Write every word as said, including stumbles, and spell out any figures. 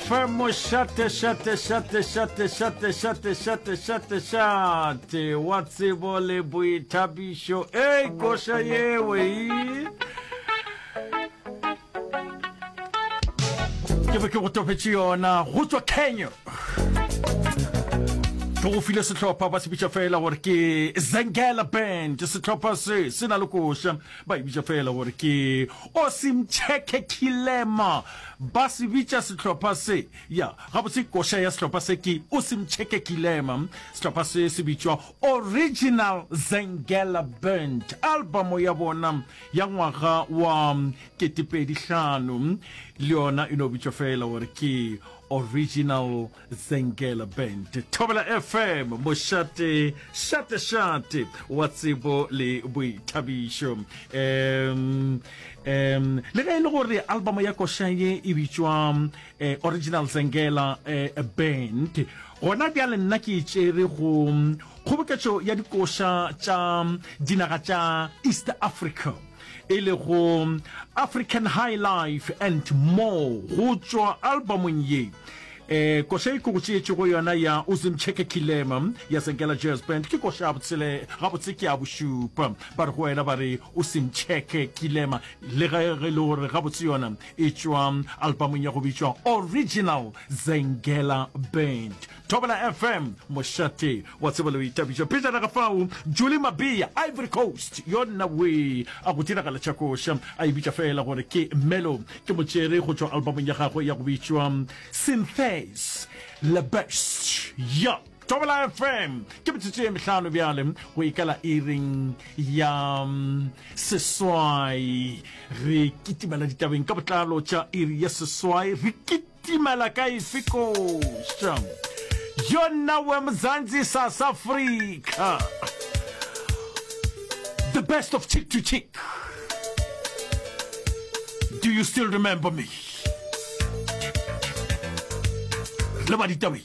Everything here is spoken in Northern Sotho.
F M, mošate šate šate šate šate šate šate šate šate wa tsebo le boithabišo. Ei, koša yewe ke be ke go topetše yona go tšwa Kenya. Ke go file sehlopha, ba se bitša fela gore ke Zengela Band. Sehlopha se se na le koša, ba e bitša fela gore ke Osimcheke Kilema. Ba se bitša sehlopha se ya gabotse. Koša ya sehlopha se ke Osimcheke Kilema. Sehlopha se se bitšwa Original Zengela Band. Album ya bona ya ngwaga wa ketepedi hlano le yona e no bitšwa fela gore ke Original Zengela Band. Thobela F M, mošate šate šate wa tsebo le boithabišo. um um le ge e le gore album ya koša ye e bitšwa eh, Original Zengela eh, Band, gona bjale nna ke e tšere go kgoboketšo ya dikoša tša dinaga tša East Africa, e lego African High Life and More. Go tšwa albumong ye, eh koša e ke go tšeetše go yona ya Uzimcheke Kilema ya Zengela Jazz Band ke koša ya botshele, gabotse ke ya bošupa. Ba re go wena, ba re Usimcheke Kilema, le ge e le gore gabotse yona e tšwa albumong ya go bitšwa Original Zengela Band. Thobela F M, mošate wa tsebo le boithabišo. Pejana ga fao, Julie Mabia, Ivory Coast, yona we a go diragala tša koša, a e bitša fela gore ke Melo. Ke motšere go tšwa albumong ya gagwe ya go bitšwa Synthes Le Best ya Thobela F M. Ke metsotso ye mehlano bjale go ikala iring ya mm, seswai. Re kitimela ditabeng ka botlalo tša iri ya seswai. Re kitimela ka efe koša yona we Mzansi, South Africa, the best of Chick to Chick, Do You Still Remember Me? Le ba ditabeng.